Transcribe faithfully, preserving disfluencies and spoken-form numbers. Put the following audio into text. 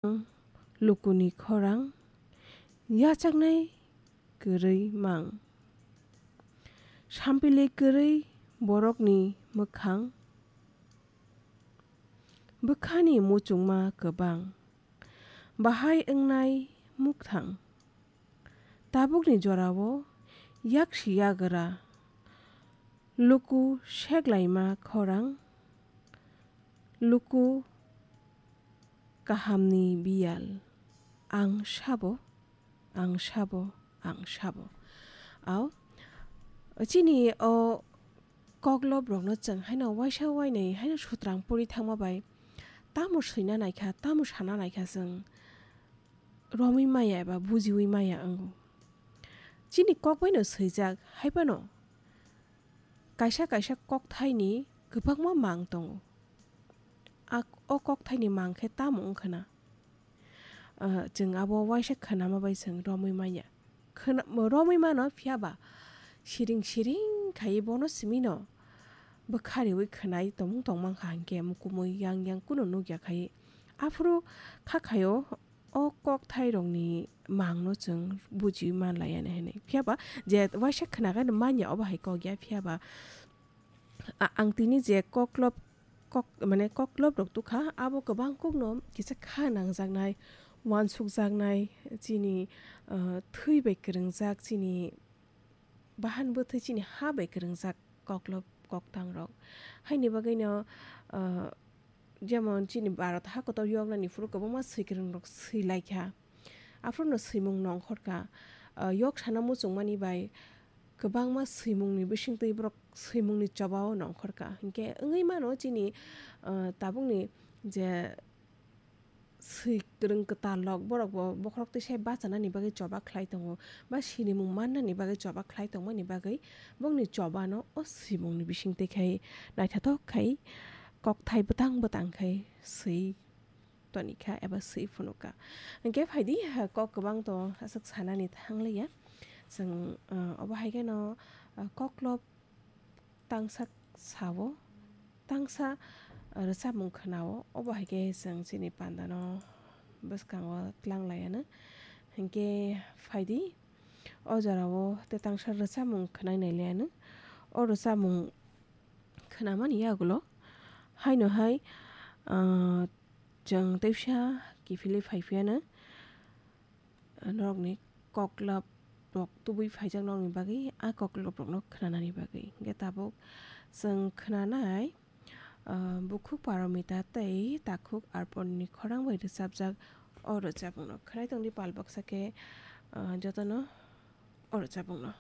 Lukuni khorang yachaknai kwrwi mang. Sampili kwrwi borokni mwkhang. Bwkhani muchungma kwbang. Bahai wngnai mukthang. Tabukni jorao yaksi yagra. Luku seklaima khorang. Luku kahamni biyal. Ang sabo, ang sabo, ang sabo. Ao, chini o kokloprokno chwng haino waisa wainwi haino sutrang puri thangma bai tamo swina naikha, tamo sana naikha chwng romwi maya eba bujiwi maya wngo. Chini kok baino swijak, hai phano kaisa kaisa kokthaini kwbangma mang tongo. A, o kokthaini mang khe tamo wngkha na? Ah, chwng abo waisa khwnama bai chwng romwi manya. Khwna-, romwi mano, phiya ba siring siring khaiwi bono simi no bwkha riwi khwnai tongmung tongmang kha, hinkhe mukumui yang yang kuno nukya khai. Aphuru kha khaio o kokthairokni mangno chwng bujiwi manlaiya hinwi. Phiya ba je waisa khwnakhai no manya, obo hai kok ya, phiya ba a-, ang tini je koklop, kok, mane koklop rok tukha, abo kwbang kokno kisa kha nangjaknai, uansukjaknai, chini, ah, thwi bai kwrwngjak, chini bahan bwthwi, chini ha bai kwrwngjak koklop koktang rok. Haini bagwino, ah, jemon chini Bharat ha kotor yoknani phuru kwbangma swikwrwng rok swi laikha. Aphuru no swimung nongkhor kha. Ah, yok sana muchungmani bai kwbangma swimungni bisingtwi borok swimungni chobao nongkhor kha. Hinkhe wngwi mano chini, ah, tabukni je swi kwrwng kwtal rok, borok bo bokhorok twi sai bachanani bagwi choba khlai tongo, ba sinimung mannani bagwi choba khlai tongmani bagwi bongni chobano o swimungni bisingtwi khai naithothok khai kokthai bwtang bwtang khai swi tonikha eba swi phunukha. Hinkhe phaidi, ha, kok kwbang to aswk sanani thangliya. Chwng, ah, obo hai kheno, ah, koklop tangsa sao, tangsa rwchapmung khwnao, obo hai khe chwng chini pandano bwskango tlang lai anw. Hinkhe phaidi, o jorao tei tangsa rwchapmung khwnai nai lai anw. O rwchapmung khwnamani yagulo haino hai, ah, chwng teisa kiphilwi phai phi anw. Norokni koklop rok tubui phaijak nokni bagwi, a koklop rokno khwnanani bagwi. Hinkhe tabuk chwng khwnanai, ah, Bukhuk Paromita tei Takhuk Arponni khorang bai rwchapjak o rwchapmungno khwnai tongdi pal baksa khe, ah, jotono o rwchapmungno.